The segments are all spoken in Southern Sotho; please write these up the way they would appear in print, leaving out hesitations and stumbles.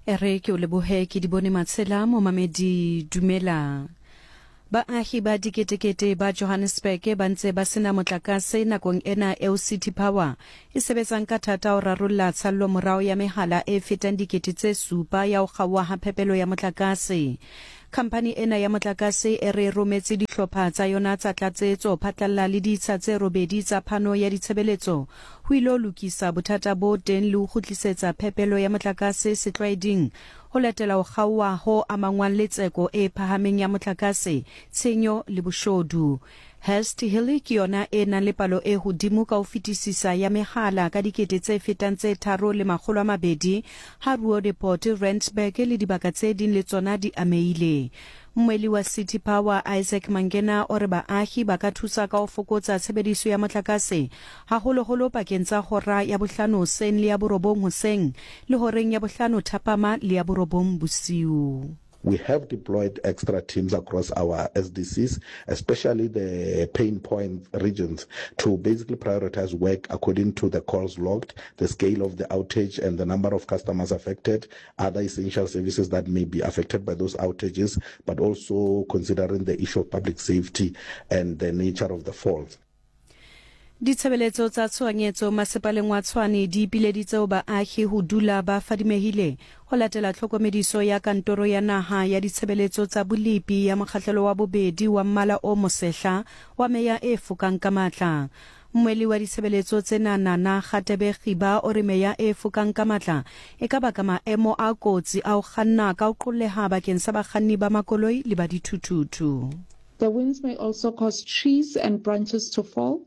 E re ke o lebohe ke di bone matshela momamedi dumela. Baahi ba diketekete ba Johannesburg ba ntse ba sena motlakase nakong ena eo City Power e sebetsang ka thata ho rarolla tshallomorao ya mehala e fetang 7000 ya ho kgaoha ha phepelo ya motlakase. Khamphani ena ya motlakase e re rometse dihlopha tsa yona tsa tlatsetso phatlalla le ditsha tse robedi tsa phano ya ditshebeletso ho ilo lokisa bothata bo teng le ho kgutlisetsa phepelo ya motlakase setlwaeding ho latela ho kgaoha ho amangwang le tseko e phahameng ya motlakase, tshenyo le boshodu. Hurst Hill ke yona e nang le palo e hodimo ka ho fetisisa ya mehala ka dikete tse fetang tse 3 200, ha Roodepoort, Randburg le dibaka tse ding le tsona di amehile. Mmweli wa City Power Isaac Mangena o re baahi ba ka thusa ka ho fokotsa tshebediso ya motlakase, haholoholo pakeng tsa hora ya bohlano hoseng le ya borobong hoseng le horeng ya bohlano thapama le ya borobong bosiu. We have deployed extra teams across our SDCs, especially the pain point regions, to basically prioritize work according to the calls logged, the scale of the outage and the number of customers affected, other essential services that may be affected by those outages, but also considering the issue of public safety and the nature of the fault. Ditshebeletso tsa tshohanyetso masepaleng wa Tshwane di ipileditse ho baahi ho dula ba fadimehile ho latela tlhokomediso ya Kantoro ya Naha ya Ditshebeletso tsa Bolepi ya mokgahlelo wa bobedi wa mmala o mosehla wa meya e fokang ka matla. Mmweli wa ditshebeletso tsena Nana Kgatebe Khiba o re meya e fokang ka matla e ka baka maemo a kotsi a ho kganna ka ho qolleha bakeng sa bakganni ba makoloi le ba dithuthuthu. The winds may also cause trees and branches to fall,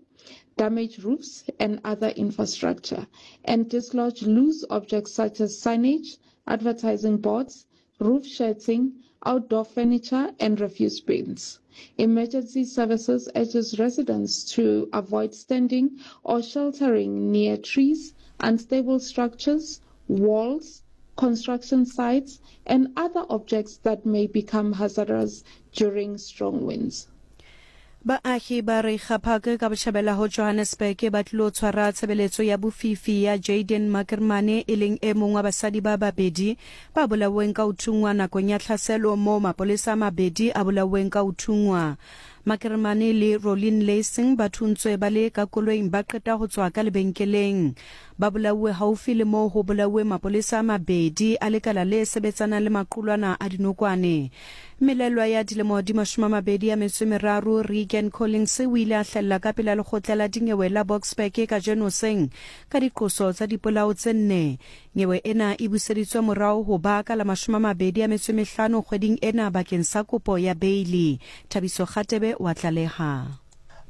damage roofs and other infrastructure, and dislodge loose objects such as signage, advertising boards, roof sheeting, outdoor furniture, and refuse bins. Emergency services urges residents to avoid standing or sheltering near trees, unstable structures, walls, construction sites, and other objects that may become hazardous during strong winds. Baahi ba Reiger Park ka botjhabela ho Johannesburg ba tlilo tshwara tshebeletso ya bofifi ya Jayden Makermane e leng e mong wa basadi ba babedi ba bolauweng ka ho thunngwa nakong ya tlhaselo moo mapolesa a mabedi a bolauweng ka ho thunngwa. Makermane le Rolene Leising ba thuntswe ba le ka koloing ba qeta ho tswa ka lebenkeleng. Ba bolauwe haufi le moo ho bolauweng mapolesa a mabedi a lekala le sebetsanang le maqulwana a dinokwane. Mmelelwa ya dilemo di 23 Regan Collins o ile a hlahella ka pela lekgotla la dinyewe la Boksburg kajeno hoseng ka diqoso tsa dipolao tse nne. Nyewe ena e buseditswe morao ho ba ka la 25 kgweding ena bakeng sa kopo ya beili. Thabiso Kgatebe o a tlaleha.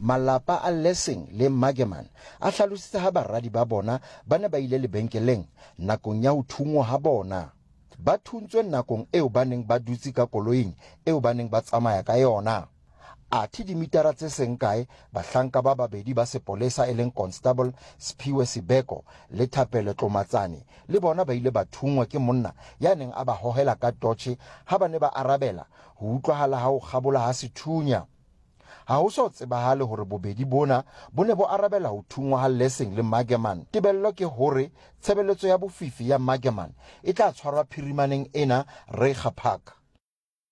Malapa a Lessing le Magerman a hlalositse ha baradi ba bona ba ne ba ile lebenkeleng nakong ya ho thunngwa ha bona. Ba thuntswe nakong eo ba neng ba dutse ka koloing eo ba neng ba tsamaya ka yona. Athe dimitara tse seng kae, bahlanka ba babedi ba sepolesa e leng Constable Sphiwe Sibeko le Thapelo Tlomatsane le bona ba ile ba thunngwa ke monna ya neng a ba hohela ka totjhe ha ba ne ba arabela ho utlwahala ha ho kgabola ha sethunya. Ha ho so tsebahale hore bobedi bona bo ne bo arabela ho thunngwa ha Lessing le Magerman. Tebello ke hore tshebeletso ya bofifi ya Magerman e tla tshwarwa phirimaneng ena Reiger Park.